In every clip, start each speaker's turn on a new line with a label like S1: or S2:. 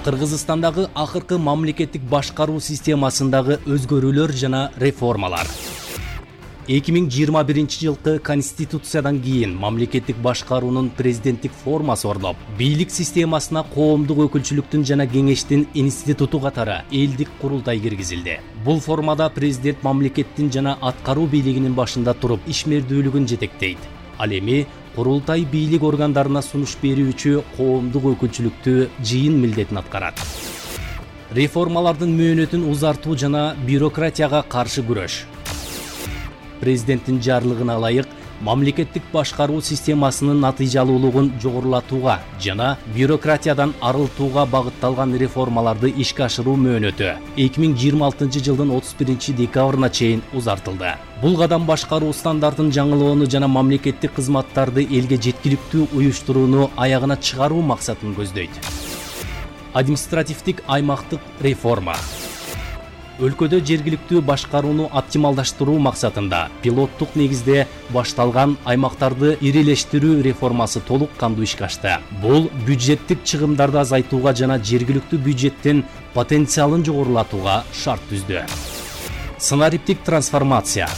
S1: Кыргызстандагы акыркы мамлекеттик башкаруу системасындагы өзгөрүүлөр жана реформалар. 2021-жылкы Конституциядан кийин мамлекеттик башкаруунун президенттик формасы орноп, бийлик системасына коомдук өкүлчүлүктүн жана кеңештин институту катары элдик курултай киргизилди. Бул формада президент мамлекеттин жана аткаруу бийлигинин башында туруп ишмердүүлүгүн жетектейт. Ал эми курултай бийлик органдарына сунуш берүүчү коомдук өкүлчүлүктүү жыйын милдетин аткарат. Реформалардын мөөнөтүн узартуу жана бюрократияга каршы күрөш. Президенттин жарлыгына ылайык мамлекеттик башкаруу системасынын натыйжалуулугун жогорулатууга жана бюрократиядан арылтууга багытталган реформаларды ишке ашыруу мөөнөтү 2026-жылдын 31-декабрына чейин узартылды. Бул кадам башкаруу стандартын жаңылоону жана мамлекеттик кызматтарды элге жеткиликтүү уюштурууну аягына чыгаруу максатын көздөйт. Административдик аймактык реформа. Өлкөдө жергиликтүү башкарууну оптималдаштыруу максатында пилоттук негизде башталган аймактарды ирилештирүү реформасы толук кандуу ишке ашты. Бул бюджеттик чыгымдарды азайтууга жана жергиликтүү бюджеттин потенциалын жогорулатууга шарт түздү. Сценариптик трансформация.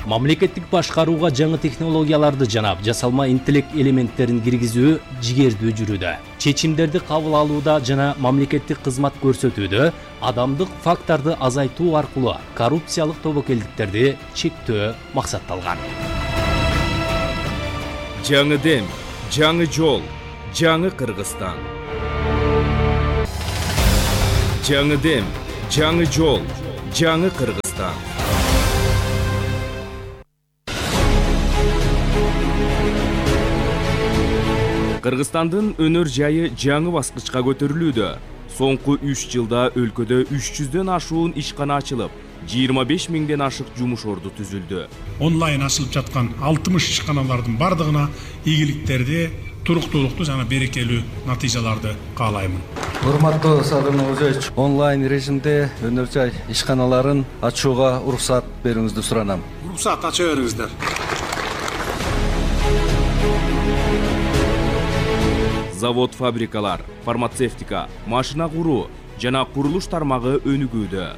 S1: Мамлекеттик башкарууга жаңы технологияларды жана жасалма интеллект элементтерин киргизүү жигердүү жүрүүдө. Чечимдерди кабыл алууда жана мамлекеттик кызмат көрсөтүүдө адамдык факторду азайтуу аркылуу коррупциялык тобокелдиктерди чектөө максатталган.
S2: Жаңы дем, жаңы жол, жаңы Кыргызстан. Жаңы дем, жаңы жол, жаңы Кыргызстан. Кыргызстандын өнөр жайы жаңы баскычка көтөрүлүүдө. Соңку 3 жылда өлкөдө 300дөн ашуун ишкана ачылып, 25 миңден ашык жумуш орду түзүлдү.
S3: Онлайн ачылып жаткан 60 ишканалардын бардыгына ийгиликтерди, туруктуулукту жана берекелүү натыйжаларды каалаймын.
S4: Урматтуу Садыр Нурзаевич, онлайн режимде өнөр жай ишканаларын ачууга уруксат берүүңүздү суранам.
S3: Уруксат ача бериңиздер.
S2: Завод, фабрикалар, фармацевтика, машина куруу жана курулуш тармагы өнүгүүдө.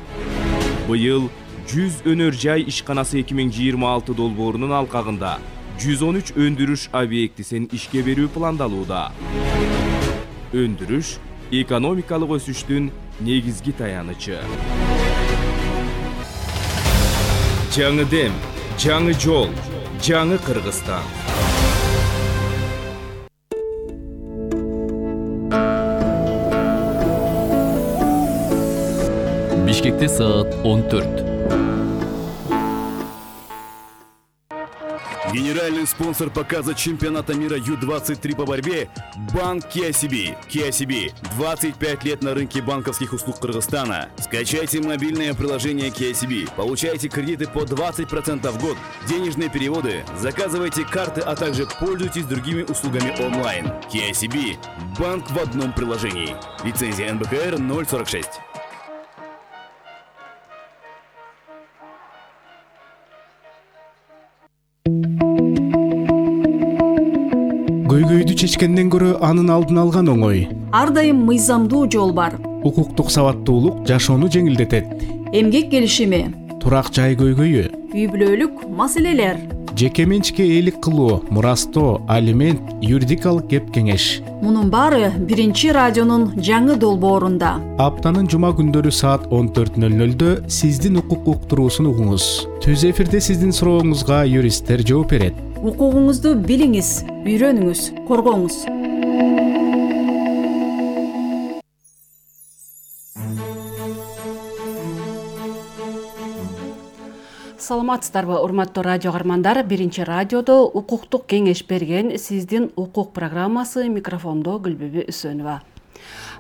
S2: Быйыл 100 өнөр жай ишканасы 2026 долбоорунун алкагында 113 өндүрүш объектисин ишке берүү пландалууда. Өндүрүш экономикалык өсүштүн негизги таянычы. Жаңы дем, жаңы жол, жаңы Кыргызстан.
S5: Бишкекте саат 14.
S6: Генеральный спонсор показа чемпионата мира Ю-23 по борьбе – Банк KCB. KCB – 25 лет на рынке банковских услуг Кыргызстана. Скачайте мобильное приложение KCB, получайте кредиты по 20% в год, денежные переводы, заказывайте карты, а также пользуйтесь другими услугами онлайн. KCB – банк в одном приложении. Лицензия НБКР 046.
S7: Көйгөйдү чечкенден көрө анын алдын алган оңой.
S8: Ар дайым мыйзамдуу жол бар.
S7: Укуктук сабаттуулук жашоону жеңилдетет.
S8: Эмгек келишими,
S7: турак жай көйгөйү,
S8: үй бүлөлүк маселелер,
S7: жеке менчикке ээлик кылуу, мурастоо, алимент, юридикалык кеп кеңеш.
S8: Мунун баары биринчи радионун жаңы долбоорунда.
S7: Аптанын жума күндөрү саат 14:00 сиздин укук уктуруусун угуңуз. Түз эфирде сиздин сурооңузга юристтер жооп берет.
S8: Укугуңузду билиңиз, үйрөнүңүз, коргоңуз. Саламатсыздарбы, урматтуу радио каармандар? Биринчи радиодо укуктук кеңеш берген сиздин укук программасы, микрофондо Гүлбүбү Үсөнова.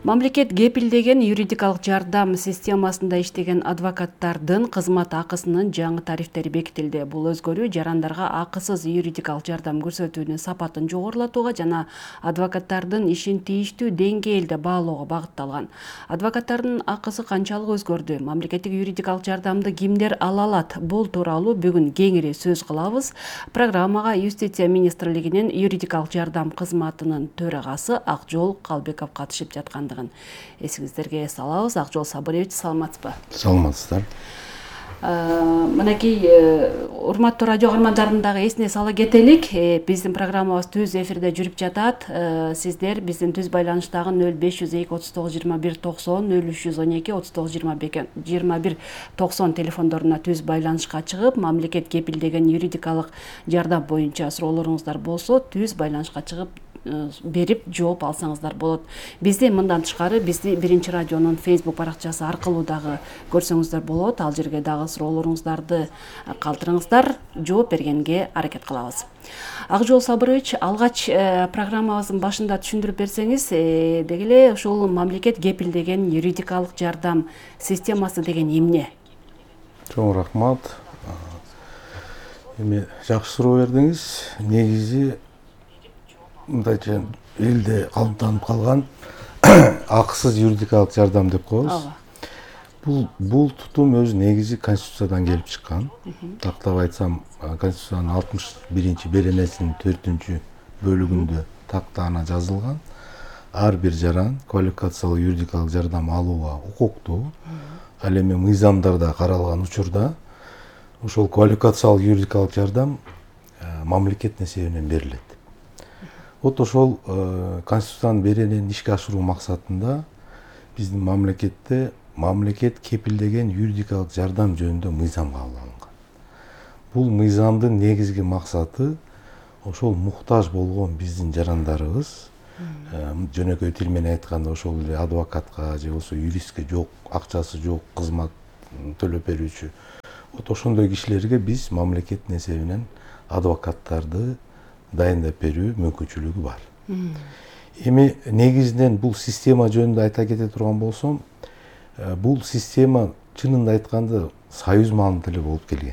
S8: Мамлекет кепилдеген юридикалык жардам системасында иштеген адвокаттардын кызмат акысынын жаңы тарифтери бекитилди. Бул өзгөрүү жарандарга акысыз юридикалык жардам көрсөтүүнүн сапатын жогорулатууга жана адвокаттардын ишин тийиштүү деңгээлде баалоого багытталган. Адвокаттардын акысы канчалык өзгөрдү? Мамлекеттик юридикалык жардамды кимдер ала алат? Бул тууралуу бүгүн кеңири сөз кылабыз. Программага Юстиция министрлигинин юридикалык жардам кызматынын төрагасы Акжол Калбеков катышып жашап жаткандыгын эсиңиздерге салабыз. Акжол Сабырович, саламатсызбы?
S9: Саламатсыздар.
S8: Мынакей урматтуу радио каармандарын дагы эсине сала кетелик. Биздин программабыз түз эфирде жүрүп жатат. Сиздер биздин түз байланыштагы 0502 39 21 90 0312 39 21 90 телефондоруна түз байланышка чыгып, мамлекет кепилдеген юридикалык жардам боюнча суроолоруңуздар болсо, түз байланышка чыгып берип жооп алсаңыздар болот. Бизди мындан тышкары Биринчи радионун Facebook баракчасы аркылуу дагы көрсөңүздөр болот. Ал жерге дагы суроолоруңуздарды калтырыңыздар, жооп бергенге аракет кылабыз. Акжол Сабырович, алгач программабыздын башында түшүндүрүп берсеңиз, деги эле ушул мамлекет кепилдеген юридикалык жардам системасы деген эмне?
S9: Чоң рахмат. Эми жакшы суроо бердиңиз. Негизи мындайча элде калыптанып калган акысыз юридикалык жардам деп коебуз. Бул тутум өзү негизи Конституциядан келип чыккан. Тактап айтсам, Конституциянын 61 беренесинин 4-бөлүгүндө тактаана жазылган. Ар бир жаран квалификациялык юридикалык жардам алууга укуктуу. Ал эми мыйзамдарда каралган учурда ошол квалификациялык юридикалык жардам мамлекет эсебинен берилет. Вот ошол Конституциянын беренени ишке ашыруу максатында биздин мамлекетте мамлекет кепилдеген юридикалык жардам жөнүндө мыйзам кабыл алынган. Бул мыйзамдын негизги максаты ошол муктаж болгон биздин жарандарыбыз, жөнөкөй тил менен айтканда ошол эле адвокатка же болбосо юристке жок, акчасы жок, кызмат төлөп берүүчү. Вот ошондой кишилерге биз мамлекеттин эсебинен адвокаттарды дайындап берүү мүмкүнчүлүгү бар. Эми негизинен бул система жөнүндө айта кете турган болсом, бул система чынында айтканда союз маалында эле болуп келген.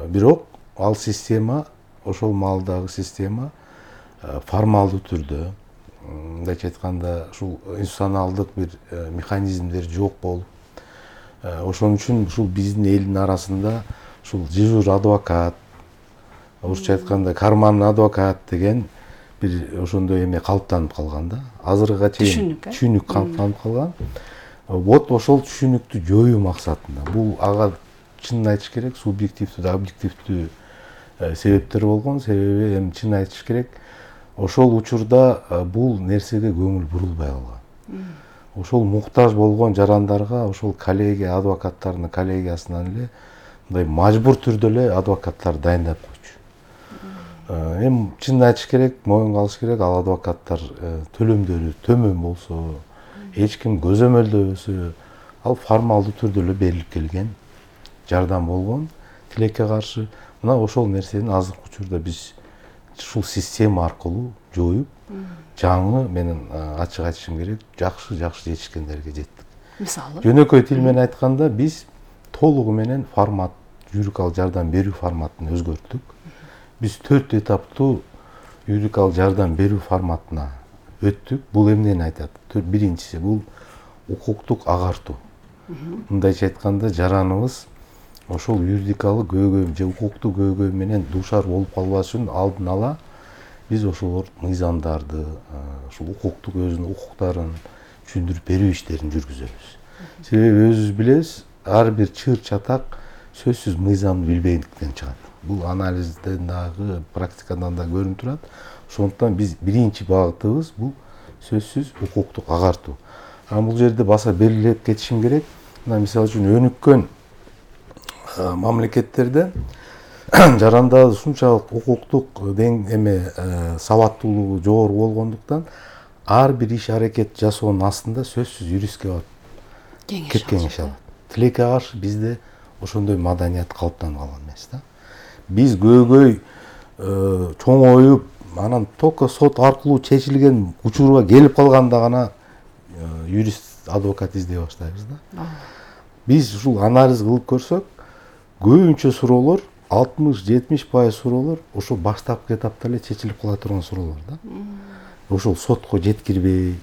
S9: Бирок ал система, ошол маалдагы система формалдуу түрдө, мындайча айтканда, ушул институционалдык бир механизмдер жок болуп, ошон үчүн ушул биздин элдин арасында ушул дежур адвокат, орусча айтканда карманный адвокат деген бир ошондой эме калыптанып калган да. Азыркыга чейин түшүнүк калыптанып калган. Вот ошол түшүнүктү жоюу максатында. Бул ага чынын айтыш керек, субъективдүү да объективдүү себептер болгон. Себеби эми чын айтыш керек, ошол учурда бул нерсеге көңүл бурулбай калган. Ошол муктаж болгон жарандарга ошол коллегия адвокаттардын коллегиясынан эле мындай мажбур түрдө эле адвокаттар дайындап койчу. Эми чын айтыш керек, моюнга алыш керек, ал адвокаттар төлөмдөрү төмөн болсо, эч ким көзөмөлдөбөсө, ал формалдуу түрдө эле берилип келген жардам болгон. Тилекке каршы мына ошол нерсени азыркы учурда биз ушул система аркылуу жоюп, жаңы, менин ачык айтышым керек, жакшы жетишкендерге жеттик.
S8: Мисалы?
S9: Жөнөкөй тил менен айтканда биз толугу менен формат, юридикалык жардам берүү форматын өзгөрттүк. Биз 4 этаптуу юридикалык жардам берүү форматына өттүк. Бул эмнени айтат? Биринчиси бул укуктук агартуу. Мындайча айтканда, жараныбыз ошол юридикалык көйгөй же укуктук көйгөй менен дуушар болуп калбаш үчүн алдын ала биз ошол мыйзамдарды, ушул укуктук өзүнүн укуктарын түшүндүрүп берүү иштерин жүргүзөбүз. Себеби өзүбүз билебиз, ар бир чыр чатак сөзсүз мыйзамды билбегендиктен чыгат. Бул анализден дагы, практикадан да көрүнүп турат. Ошондуктан биз биринчи багытыбыз бул сөзсүз укуктук агартуу. Бул жерде баса белгилеп кетишим керек. Мына мисалы үчүн өнүккөн мамлекеттерде жарандарды ушунчалык укуктук сабаттуулугу жогору болгондуктан ар бир иш аракет жасоонун астында сөзсүз юристке барып кеңеш алат. Тилекке каршы бизде ошондой маданият калыптанып калган эмес да. Биз көйгөй чоңоюп, анан только сот аркылуу чечилген учурга келип калганда гана юрист, адвокат издей баштайбыз да. Биз ушул анализ кылып көрсөк, көбүнчө суроолор, 60-70% суроолор ошол баштапкы этапта эле чечилип кала турган суроолор да. Ошол сотко жеткирбей,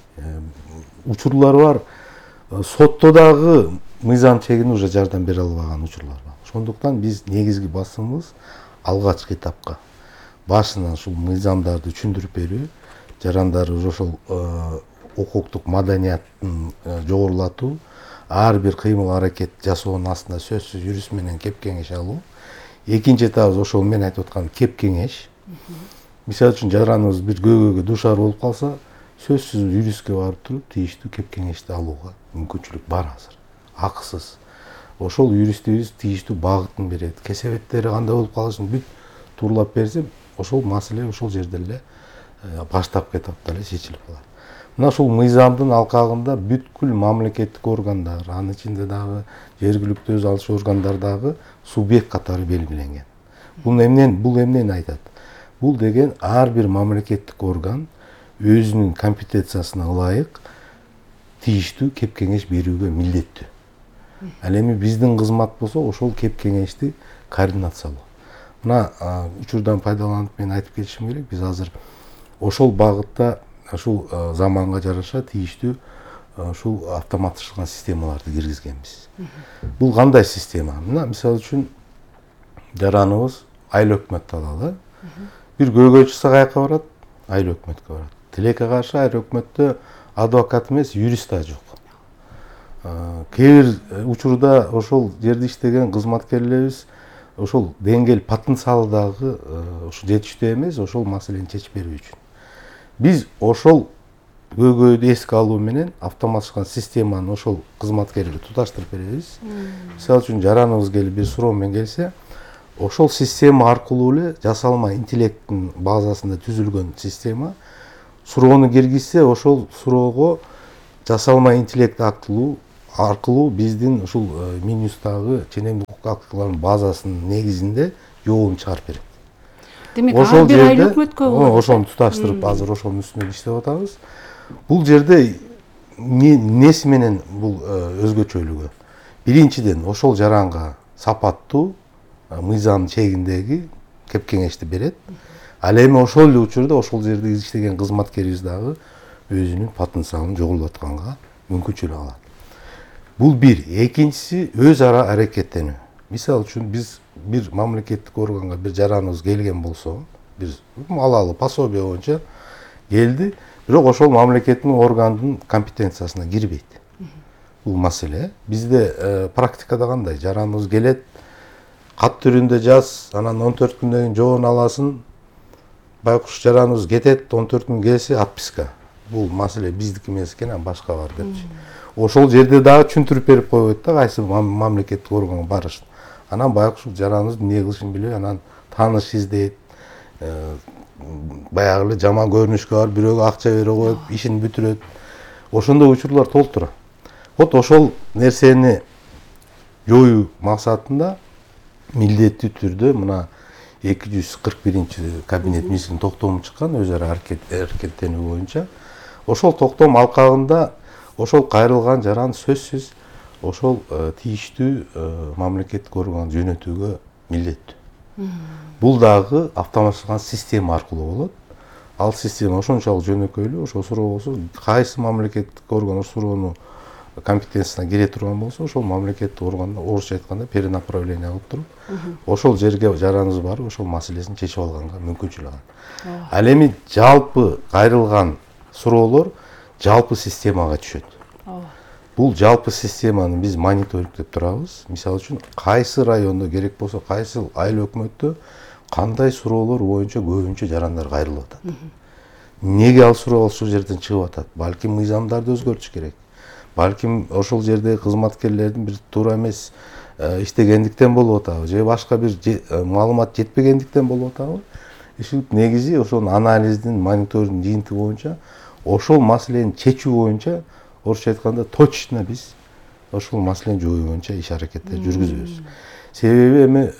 S9: учурлар бар. Сотто дагы мыйзам чегинде уже жардам бере албаган учурлар бар. Ошондуктан биз негизги басымыбыз алгачкы этапка башынан ушул мыйзамдарды түшүндүрүп берүү, жарандар ошол укуктук маданияттын жогорулатуу, ар бир кыймыл аракет жасоонун астында сөзсүз юрист менен кеп кеңеш алуу. Экинчи этабыбыз ошол мен айтып аткан кеп кеңеш. Мисалы үчүн жараныбыз бир көйгөйгө дуушар болуп калса, сөзсүз юристке барып туруп тийиштүү кеп кеңешти алууга мүмкүнчүлүк бар азыр. Акысыз. Ошол юристибиз тийиштүү багытын берет. Кесепеттери кандай болуп калышын бүт тууралап берсе, ошол маселе ошол жерде эле баштапкы этапта эле чечилип калат. Мына ушул мыйзамдын алкагында бүткүл мамлекеттик органдар, анын ичинде дагы жергиликтүү өз алыш органдар дагы субъект катары белгиленген. Бул эмнени айтат? Бул деген ар бир мамлекеттик орган өзүнүн компетенциясына ылайык тийиштүү кеп кеңеш берүүгө милдеттүү. Ал эми биздин кызмат болсо ошол кеп кеңешти координациялоо. Мына учурдан пайдаланып мен айтып кетишим керек, биз азыр ошол багытта ушул заманга жараша тийиштүү ушул автоматташкан системаларды киргизгенбиз. Бул кандай система? Мына мисалы үчүн жараныбыз айыл өкмөттү алалы. Бир көйгөй чыкса каяка барат? Айыл өкмөткө барат. Тилекке каршы айыл өкмөттө адвокат эмес, юрист да жок. Кээ бир учурда ошол жерде иштеген кызматкерлерибиз ошол деңгээл потенциалы дагы ошо жетиштүү эмес, ошол маселени чечип берүү үчүн. Биз ошол көйгөйдү эске алуу менен автоматташкан системаны ошол кызматкерге туташтырып беребиз. Мисалы үчүн жараныбыз келип бир суроо менен келсе, ошол система аркылуу эле жасалма интеллекттин базасында түзүлгөн система суроону киргизсе, ошол суроого жасалма интеллект аркылуу биздин ушул Минюстагы ченемдик укук актыларынын базасынын негизинде жообун чыгарып берет.
S8: Демек, ар бир айыл өкмөткө
S9: ошону туташтырып азыр ошонун үстүнөн иштеп атабыз. Бул жерде эмнеси менен бул өзгөчөлүгү? Биринчиден, ошол жаранга сапаттуу мыйзам чегиндеги кеп кеңешти берет. Ал эми ошол эле учурда ошол жерде иштеген кызматкерибиз дагы өзүнүн потенциалын жогорулатканга мүмкүнчүлүк алат. Бул бир. Экинчиси өз ара аракеттенүү. Мисалы үчүн биз бир мамлекеттик органга бир жараныбыз келген болсо, бир алалы пособие боюнча келди, бирок ошол мамлекеттин органдын компетенциясына кирбейт. Бул маселе. Бизде практикада кандай? Жараныбыз келет, кат түрүндө жаз, анан 14 күндөн кийин жообун аласың. Байкуш жараныбыз кетет, 14 күн келсе отписка. Бул маселе биздики эмес экен, башка бар депчи. Ошол жерде дагы түшүндүрүп берип койбойт да, кайсы мамлекеттик органга барышын. Анан байкуш жараныбыз эмне кылышын билбей, анан тааныш издейт. Баягы эле жаман көрүнүшкө барып, бирөөгө акча бере коюп, ишин бүтүрөт. Ошондой учурлар толтура. Вот ошол нерсени жоюу максатында милдеттүү түрдө мына 241 кабинет министринин токтому чыккан өз ара аракеттенүү боюнча. Ошол токтом алкагында ошол кайрылган жаран сөзсүз ошол тийиштүү мамлекеттик органга жөнөтүүгө милдеттүү. Бул дагы автоматташкан система аркылуу болот. Ал система ошончолук жөнөкөйлүү, ошол суроо болсо, кайсы мамлекеттик орган ошол суроону компетенциясына кире турган болсо, ошол мамлекеттик органда орусча айтканда перенаправление кылып туруп, ошол жерге жараныбыз барып, ошол маселесин чечип алганга мүмкүнчүлүк алат. Ал эми жалпы кайрылган суроолор жалпы системага түшөт. Бул жалпы системаны биз мониторингдеп турабыз. Мисалы үчүн, кайсы райондо керек болсо, кайсы айыл өкмөттө кандай суроолор боюнча көбүнчө жарандар кайрылып атат. Эмнеге ал суроо ошол жерден чыгып атат? Балким мыйзамдарды өзгөртүш керек. Балким ошол жердеги кызматкерлердин бир туура эмес иштегендиктен болуп атабы, же башка бир маалымат жетпегендиктен болуп атабы? Негизи ошонун анализдин, мониторингдин жыйынтыгы боюнча ошол маселени чечүү боюнча, орусча айтканда точно биз ошол маселени жоюу боюнча иш аракеттер жүргүзөбүз. Себеби эми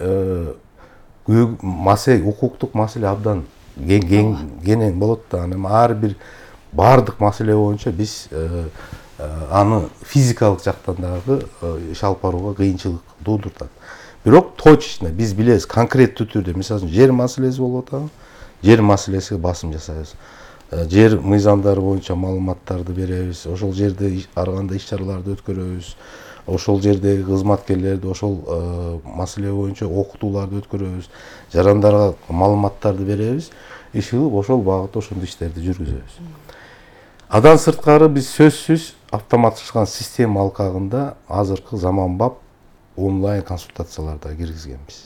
S9: маселе, укуктук маселе абдан кенен болот да, анан ар бир бардык маселе боюнча биз аны физикалык жактан дагы иш алып барууга кыйынчылык туудурат. Бирок точно биз билебиз, конкреттүү түрдө, мисалы үчүн жер маселеси болуп атабы, жер маселесине басым жасайбыз. Жер мыйзамдары боюнча маалыматтарды беребиз, ошол жерде ар кандай иш-чараларды өткөрөбүз, ошол жердеги кызматкерлерди ошол маселе боюнча окутууларды өткөрөбүз, жарандарга маалыматтарды беребиз, иш кылып ошол багытта ошондой иштерди жүргүзөбүз. Адан сырткары биз сөзсүз автоматташкан система алкагында азыркы заманбап онлайн консультацияларда киргизгенбиз.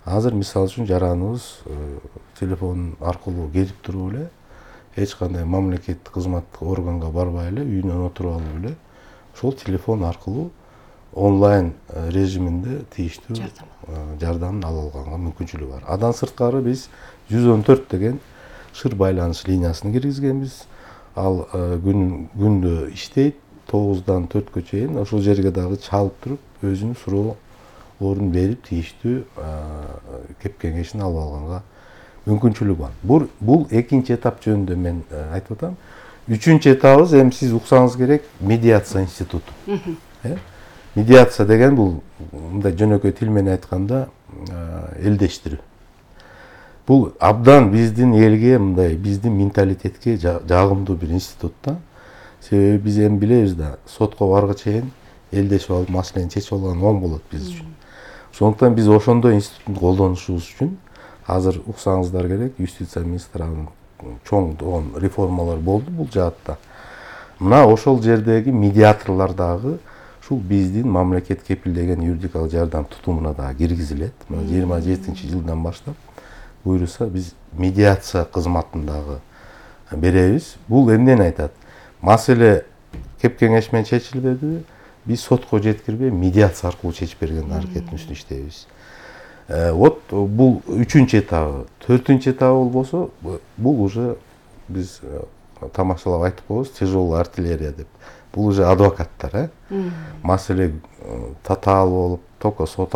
S9: Азыр мисалы үчүн жараныбыз телефон аркылуу келип туруп эле эч кандай мамлекеттик кызматтык органга барбай эле үйүнөн отуруп алып эле ошол телефон аркылуу онлайн режиминде тийиштүү жардамын ала алганга мүмкүнчүлүгү бар. Адан сырткары биз 114 деген шыр байланыш линиясын киргизгенбиз. Ал күндө иштейт, 9-дан 4-кө чейин ошол жерге дагы чалып туруп, өзүнүн суроолорун берип, тийиштүү кеп кеңешин алып алганга мүмкүнчүлүгү бар. Бул экинчи этап жөнүндө мен айтып атам. Үчүнчү этабыбыз эми сиз уксаңыз керек, медиация институту. Медиация деген бул мындай жөнөкөй тил менен айтканда элдештирүү. Бул абдан биздин элге, мындай биздин менталитетке жагымдуу бир институт да. Себеби биз эми билебиз да, сотко барга чейин элдешип алып маселени чечип алган оң болот биз үчүн. Ошондуктан биз ошондой институтту колдонушубуз үчүн азыр уксаңыздар керек, юстиция министрлигинин чоң реформалар болду бул жаатта. Мына ошол жердеги медиаторлор дагы ушул биздин мамлекет кепилдеген юридикалык жардам тутумуна дагы киргизилет. Мына 27-жылдан баштап буйруса биз медиация кызматын дагы беребиз. Бул эмнени айтат? Маселе кеп кеңеш менен чечилбедиби? Биз сотко жеткирбей медиация аркылуу чечип берген аракеттин үстүндө иштейбиз. Вот бул 3-чү этабы. 4-чү этабы болбосо, бул уже биз тамашалап айтып коебуз, тяжелая артиллерия деп. Бул уже адвокаттар, маселе татаал болуп, только сот